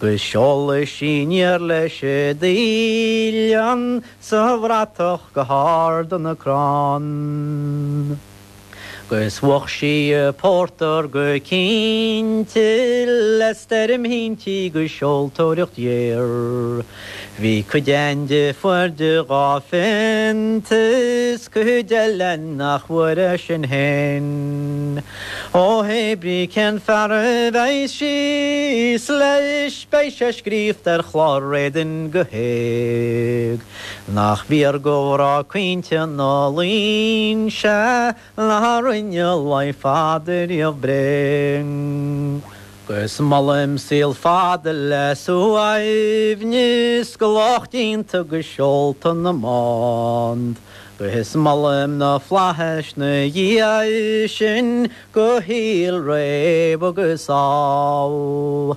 'Gus seolfaidh sí aniar leis an dtaoilleann 'sa bhratach go hard na crann. 'Gus bhuach sí an pórtar go cinnte le stoirm thintrí 'gus seoltóireacht ghéar. Bhí cuid a'inn a fuair de dhá phionta is cuid eile nach bhfuair é sin fhéin. Ó hé brí cén fear a bheidh síos leis beidh sé scríofa ar chlár éadain go héag. Nach bhfíor do mhná caointe na Luínse ná rinne lao fada riamh bréag. 'Gus molaim saol fada le suaimhneas do lucht déanta 'gus seolta na mbád. 'Gus molaim na flaithis 'na dhiaidh sin do shaol réidh agus sall.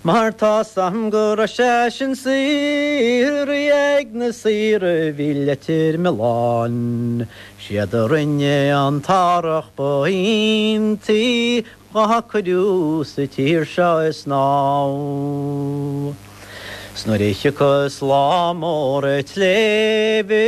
Mar tá's a'm go raibh sé sin saothraithe ag na saoir a bhí Leitir Mealláin. Siad a rinne an t-árthach ba iontaí dhá cuireadh sa tír seo ag snámh. 'S nuair a thiocfas lá mór an tsléibhe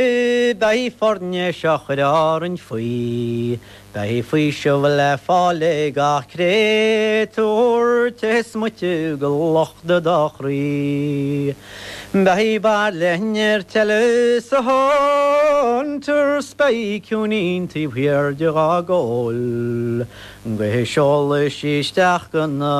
beidh foirnéis á chur orainn faoi. Beidh faoiseamh le fáil ag gach créatúr te is moite de locht dá chroí. Beidh bairille nirt eile sa Hunter 's beidh ciúinín taobh thiar de dhá gcomhail. 'Gus seolfaidh sí isteach go na.